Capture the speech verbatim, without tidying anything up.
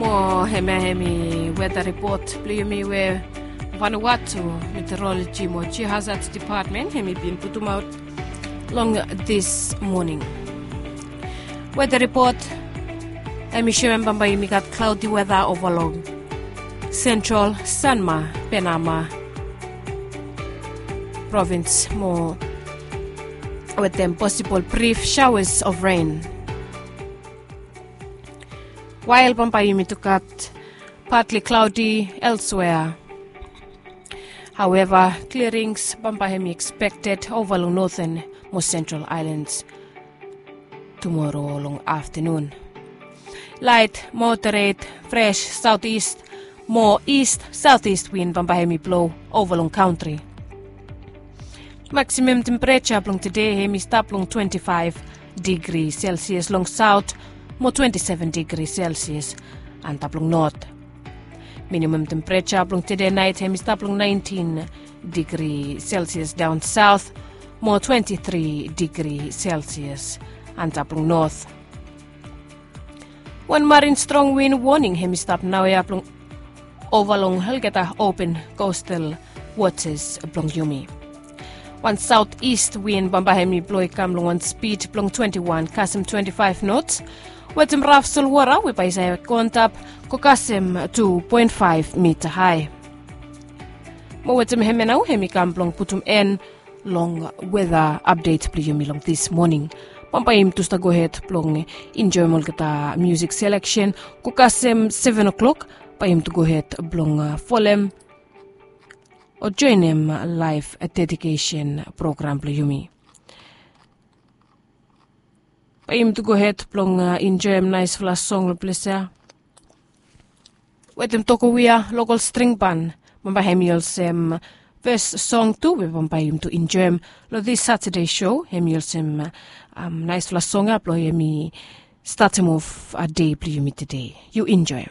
Mo hemia hemi weda ripot blong yumi we Vanuatu Meteorology mo Geohazard Department hemi bin putumaot long this morning. Weda ripot hemi soem bambae yumi gat klaodi weda ova long Central, Sanma, Penama provins mo wetem posibol brif showers of rain. Wael bambae yumi tu gat partly cloudy elsewhere. Haweva, klirings bambae hemi ekspekted ova long Northern mo Central Islands tumoro long aftenun. Laet moderet fres saoteast mo ist saoteast win bambae hemi blo ova long kantri. Maksimam tempereja blong tede hemi stap long twenti faef digri selsias long saot mo twenti seven digri selsias antap long not. Minimam tempereja blong tede naet hemi stap long naentin digri selsias daon saot mo twenti tri digri selsias antap long not. Wan marin strong win woning hemi stap naoia blong ova long olgeta open kostal wotas blong yumi. Wan saoteast win bambae hemi blo i kam long wan spid blong twenti wan kasem twenti faef nots wetem raf solwota we bae i save go antap go kasem tu poen faef mita hae. Mo wetem hemia nao hemi kam blong putum en long weda apdet blong yumi long this morning. Bambae yumi tu stap gohed blong enjoem olgeta musik seleksen go kasem seven o'clock. Bae yumi tu gohed blong folem o joenem laef dedikesen program blong yumi. Bae yumi tu gohed blong enjoem naesfala song long ples ya wetem Tokowia lokol string ban. Bambae hemi olsem fes song tu we bambae yumi tu enjoem long this Saturday show. Hemi olsem naesfala song ya blong hemi statem of dei blong yumi tede. Yu enjoem.